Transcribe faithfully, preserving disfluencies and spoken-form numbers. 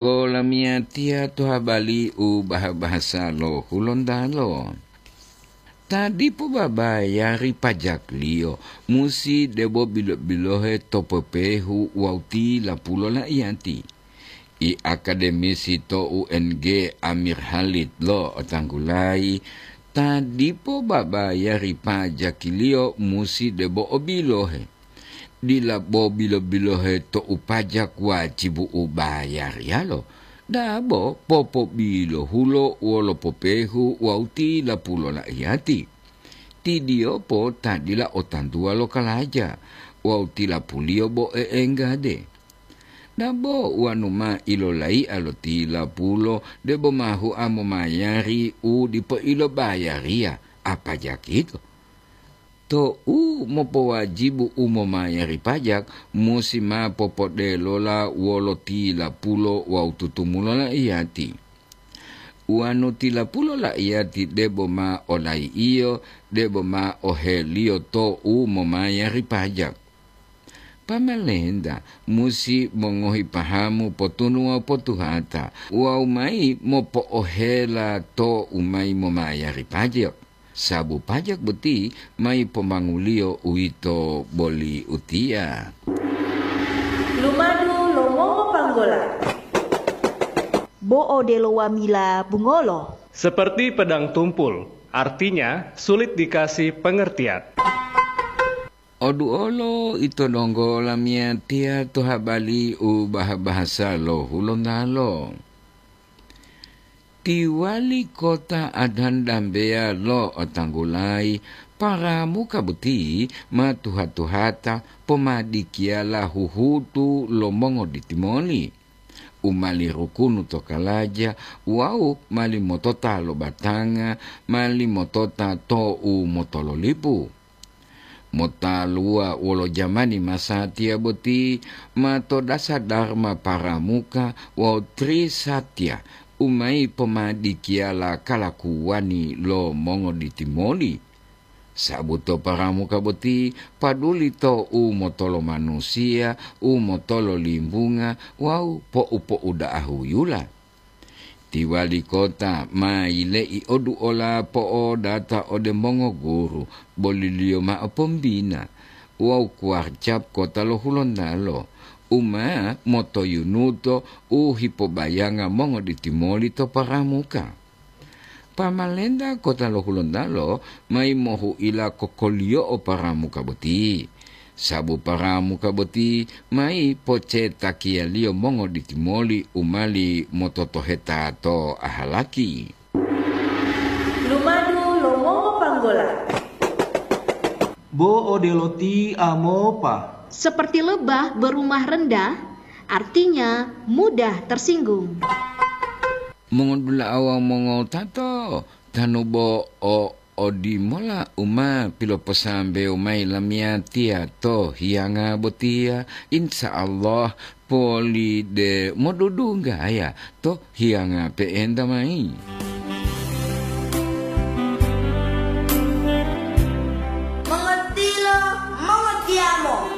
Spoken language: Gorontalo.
Olamiyatiya to habari u baha-bahasa lo Hulontalo. Ta dipo babayari pajakliyo musi debo bilo-bilohe to pepehu wawu tilapulo la'iyati. I akademisi to U N G Amir Halid lo otanggulayi, ta dipo babayari pajakiliyo musi debo o bilohe. Dila bo bilo-bilohe to u pajak wajibu u bayariyalo, dabo popobilohulo wolo popehu wawu tilapulo la'iyati. Tidiyopo ta dila o tantuwa lo kalaja wawu tilapuliyo bo e'enggade. Dabo wanu ma ilolai'a lo tilapulo debo ma hua momayari u dipo ilobayariya, a pajak yito. Tou mopowajibu u momayari pajak, musi ma popodelola wolo tilapulo wawu tutumulo la'iyati. Wanu tilapulo la'iyati debo ma olai'iyo, debo ma oheliyo tou momayari pajak. Pamalenta musi mongohi pahamu potunu wawu potuhata wawu mayi mopo'ohela tou mayi momayari pajak. Sabu pajak boti mayi pomanguliyo uwito boli utiya. Lumadu lo mongopanggola. Bo odelo wamila bungolo. Seperti pedang tumpul, artinya sulit dikasih pengertian. Oduolo ito donggo lamiyatiya to habari u baha-bahasa lo Hulontalo. Ti wali kota Adhan Dambeya lo otanggulayi paramuka boti ma tuha-tuhata pomadikiyala huhutu lo mongoditimoli. U mali rukunu to kalaja wawu mali motota lo batanga, mali motota to u motololipu. Motaluwa wolo jamani masatiya boti ma to dasa Dharma Paramuka wawu Trisatya u mayi pomadikiyala kalakuwani lo mongoditimoli. Sabu to paramuka boti paduli to u motolo manusiya, u motolo limbunga wawu po'u-po'uda'a huyula. Ti wali kota ma yile'i oduola po'odata ode mongoguru, boliliyo ma'o pombina wawu kuwarcap kota lo Hulontalo, u ma motoyunuto u hipobayanga mongoditimoli to paramuka. Pamalenta kota lo Hulontalo mayi mohu'ila kokoliyo'o paramuka boti, sabu paramuka boti mayi pocetakiyaliyo mongoditimoli u mali mototoheta to ahalaki. Lumadu lo mongopanggola. Bo odelo ti amopa. Seperti lebah berumah rendah, artinya mudah tersinggung. Mongodula'a wawu mongotato, tanu bo o odimola u ma piloposambewo mayi lamiyatiya to hiyanga botiya, insya Allah poli de modudunggaya to hiyanga pe'enta mayi.